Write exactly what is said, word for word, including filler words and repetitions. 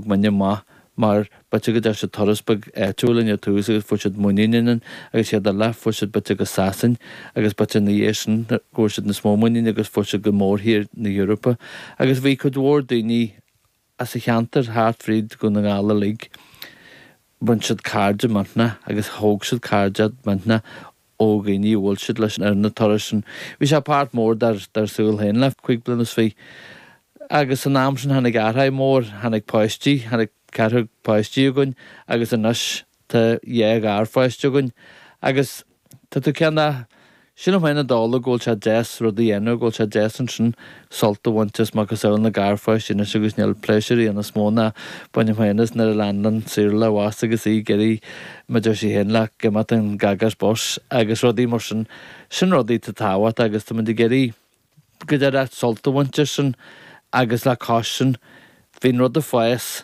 Thóg muidne amach mar b'fhéidir go dtearn siad turas beag áitiúil linn ar tús agus fuair siad muinín ionainn agus siad eile fuair siad b'fhéidir go Sasain agus b'fhéidir ina dhiaidh sin go bhfuair siad níos mó muinín agus fuair siad go mórthír na hEorpa agus bhí cuid mhór daoine as an cheantar thart fríd Dhún na nGall uilig bhain siad cairde millteanach agus thóg siad cairde millteanach ó dhaoine a bhuail siad leis ar na turais sin. Bhí sé páirt mór dár dár saol féin le cúig bliana is fiche. Agus san am sin tháinig athrú mór, tháinig páistí, tháinig ceathrar páistí againn agus anois tá dhá gharpháiste againn agus tá tú cineál sílim féin i dtólamh go bhfuil sé deas rud a dhéanamh, go bhfuil sé deas ansin sult a bhaint as macasamhail na garpháistí anois agus níl pléisiúr níos mó ná bainim féin as nuair a leanann Saoirse abhus agus í ag iarraidh mar deir sí féin le go mbeadh an gagas bus agus rudaí mar sin, sin rudaí atá tábhachtach agus tá muid ag iarraidh go deireadh sult a bhaint as sin agus le cois sin bhí an rud ag fás